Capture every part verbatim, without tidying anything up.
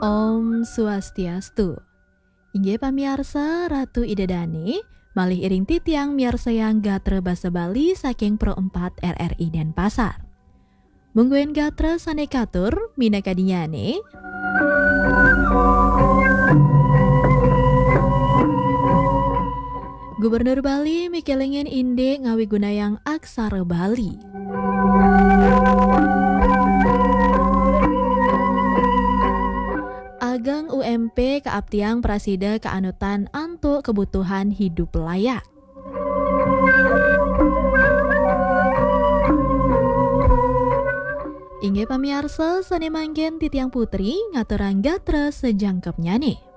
Om Swastiastu. Inggih pamiarsa, Ratu Ida Dane, malih iring titiang miarsayang gatra basa Bali saking Pro empat R R I Denpasar. Mungguing gatra sane katur, minakadinyane, Gubernur Bali mikelingin indik ngawigunayang aksara Bali. Ageng U M P kaaptiang prasida kaanutan antuk kebutuhan hidup layak. Inggih pamiarsa, sane mangkin titiang putri ngaturang gatra sajangkepnyane.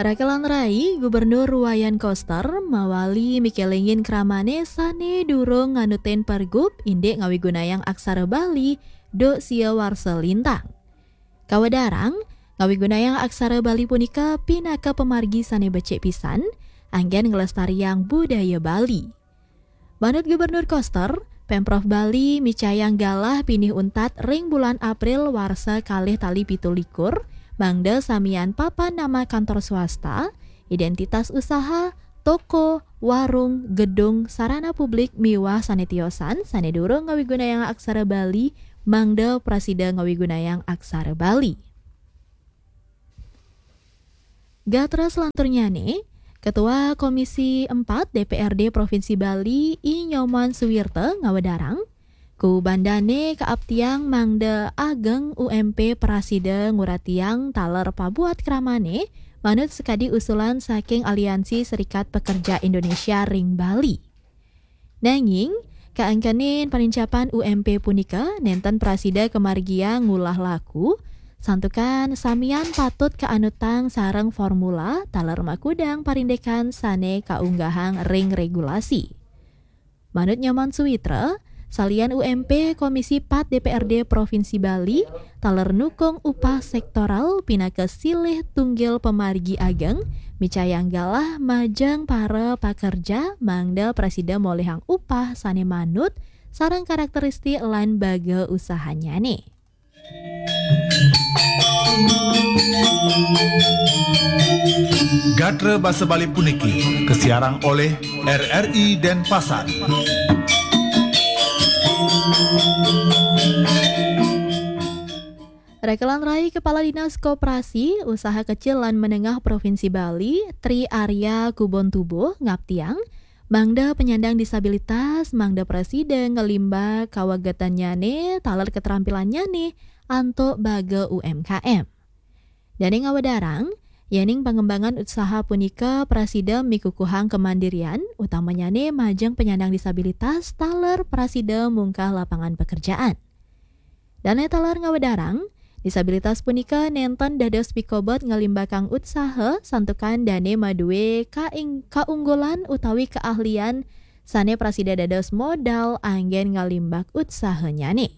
Raka lan rai, Gubernur Wayan Koster mawali mikelingin kramane sane durung nganutin pergub indik ngawigunayang aksara Bali duk sia warsa lintang. Kawedarang, ngawigunayang aksara Bali punika pinaka pamargi sane becik pisan, anggen nglestariang budaya Bali. Manut Gubernur Koster, Pemprov Bali micayang galah pinih untat ring bulan April warsa kalih tali pitu likur, mangda samian papan nama kantor swasta, identitas usaha, toko, warung, gedung, sarana publik miwah sane tiosan sane durung ngawigunayang aksara Bali, mangda prasida ngawigunayang aksara Bali. Gatra selanturnyane, Ketua Komisi empat D P R D Provinsi Bali, I Nyoman Suwirta ngawedarang, kubandane kaaptiang mangda ageng U M P prasida nguratiang taler pabuat kramane manut sakadi usulan saking Aliansi Serikat Pekerja Indonesia ring Bali. Nanging, kaangkenin panincapan U M P punika nenten prasida kamargiang ngulah laku, santukan samian patut kaanutang sareng formula taler makudang parindikan sane kaunggahang ring regulasi. Manut Nyoman Suwitra, salian U M P, Komisi empat D P R D Provinsi Bali taler nukung upah sektoral pinaka silih tunggil pamargi ageng, micayang galah majeng para pakerja mangda prasida molihang upah sane manut sareng karakteristik lan baga usahanyane. Gatra basa Bali puniki kasiarang oleh R R I Denpasar. Rekelan Rai Kepala Dinas Koperasi, Usaha Kecil lan Menengah Provinsi Bali, Tri Arya Kubon Tubuh, ngaptiang, mangda penyandang disabilitas, mangda prasida ngelimbak kawagetannyane, taler ketrampilannyane, antuk baga U M K M. Dane ngawedarang, yening pangembangan usaha punika prasida mikukuhang kemandirian, utamanyane majeng penyandang disabilitas, taler prasida mungkah lapangan pekerjaan. Dane taler ngawedarang, disabilitas punika nenten dados pikobet ngalimbakang utsaha santukan dane madue kaing-, kaunggulan utawi keahlian sane prasida dados modal anggen ngalimbak utsahanyane.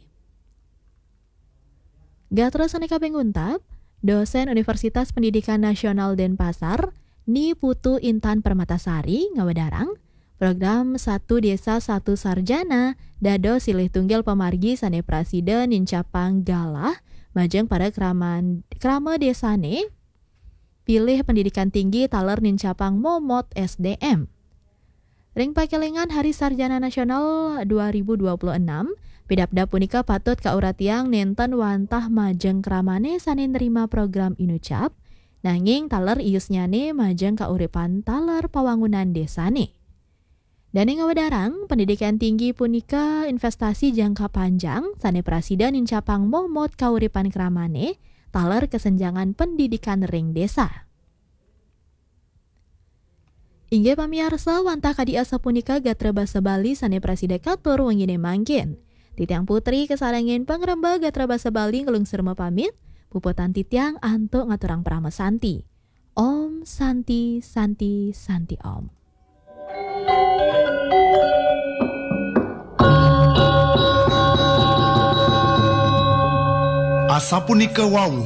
Gatra sane kaping untat, dosen Universitas Pendidikan Nasional Denpasar, Ni Putu Intan Permatasari ngawedarang, program Satu Desa Satu Sarjana dados silih tunggil pamargi sane prasida nincapang galah majeng para kraman-, krama desane pilih pendidikan tinggi taler nincapang momot S D M. Ring pakelingan Hari Sarjana Nasional dua ribu dua puluh enam, pidabdab punika patut kauratiang nenten wantah majeng kramane sane nrima program inucap, nanging taler iusnyane majeng kauripan taler pawangunan desane. Dane ngawedarang, pendidikan tinggi punika investasi jangka panjang sane prasida nincapang momot kauripan kramane taler kesenjangan pendidikan ring desa. Inggih pamiarsa, wantah kadi asapunika gatra basa Bali sane prasida katur wengine mangkin. Titiang Putri kasarengin pangremba gatra basa Bali nglungsur mapamit, puputang titiang antuk ngaturang parama santi. Om Santi, Santi, Santi Om. Asapunika wau